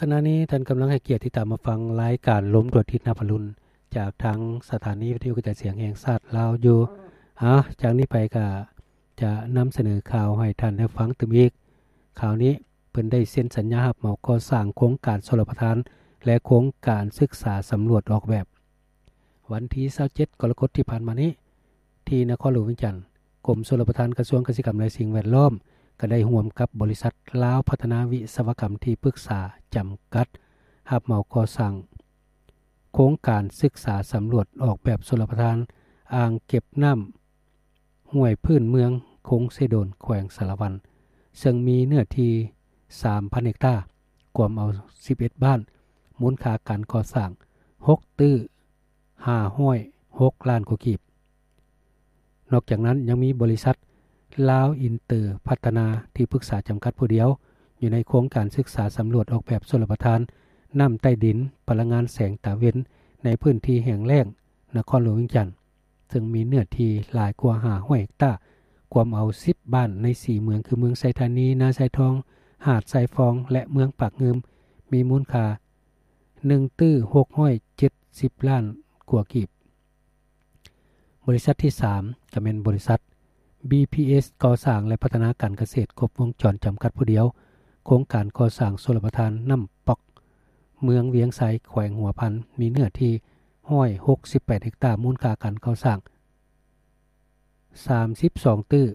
ຂະນະນີ້ທ່ານກຳລັງໃຫ້ກຽດຕິດຕາມມາຟັງລາຍການລົມດວງອາທິດນັບອະລຸນ ຈາກທາງສະຖານີວິທະຍຸກະຈາຍສຽງແຫ່ງຊາດລາວຢູ່. ອາ ຈາກນີ້ໄປກະຈະນຳສະເໜີຂ່າວໃຫ້ທ່ານໄດ້ຟັງຕື່ມອີກ. ຂ່າວນີ້ເພິ່ນໄດ້ເຊັນສັນຍາຮັບເໝົາກໍ່ສ້າງໂຄງການຊົນລະປະທານ ແລະ ໂຄງການສຶກສາສຳຫຼວດອອກແບບ. ວັນທີຊາວເຈັດ ກໍລະກົດທີ່ຜ່ານມານີ້ ທີ່ນະຄອນຫຼວງວຽງຈັນ, ກົມຊົນລະປະທານ ກະຊວງກະສິກຳ ແລະ ສິ່ງແວດລ້ອມ ກໍໄດ້ຮ່ວມກັບບໍລິສັດລາວພັດທະນາວິສະວະກຳທີ່ປຶກສາຈຳກັດ ຮັບເໝົາກໍ່ສ້າງໂຄງການສຶກສາສຳຫຼວດອອກແບບຊົນລະປະທານອ່າງເກັບນ້ຳຫ້ວຍພື້ນເມືອງຄົງເຊໂດນ ແຂວງສາລະວັນ ເຊິ່ງມີເນື້ອທີ່ສາມພັນເຮັກຕາ ກວມເອົາສິບເອັດບ້ານ, ມູນຄ່າການກໍ່ສ້າງຫົກຕື້ ຫ້າຮ້ອຍຫົກລ້ານກວ່າກີບ. ນອກຈາກນັ້ນຍັງມີບໍລິສັດລາວອິນເຕີພັດທະນາທີ່ປຶກສາຈຳກັດຜູ້ດຽວ ຢູ່ໃນໂຄງການສຶກສາສຳຫຼວດອອກແບບຊົນລະປະທານ ນ້ຳໃຕ້ດິນ, ພະລັງງານແສງຕາເວັນ ໃນພື້ນທີ່ແຫ້ງແລ້ງນະຄອນຫຼວງວຽງຈັນ ເຊິ່ງມີເນື້ອທີ່ຫຼາຍກວ່າຫ້າຮ້ອຍເຮັກຕາ ກວມເອົາສິບບ້ານໃນສີ່ເມືອງ ຄືເມືອງໄຊທານີ, ນາຊາຍທອງ, ຫາດຊາຍຟອງ ແລະ ເມືອງປາກງື່ມ ມີມູນຄ່າ ໜຶ່ງຕື້ຫົກຮ້ອຍເຈັດສິບລ້ານກວ່າກີບ. ບໍລິສັດທີສາມ ກໍແມ່ນບໍລິສັດ ບີພີເອັສ ກໍ່ສ້າງ ແລະ ພັດທະນາການກະເສດຄົບວົງຈອນຈຳກັດຜູ້ດຽວ, ໂຄງການກໍ່ສ້າງຊົນລະປະທານນ້ຳປອກ ເມືອງວຽງໄຊ ແຂວງຫົວພັນ ມີເນື້ອທີ່ຮ້ອຍຫົກສິບແປດເຮັກຕາ, ມູນຄ່າການກໍ່ສ້າງສາມສິບສອງຕື້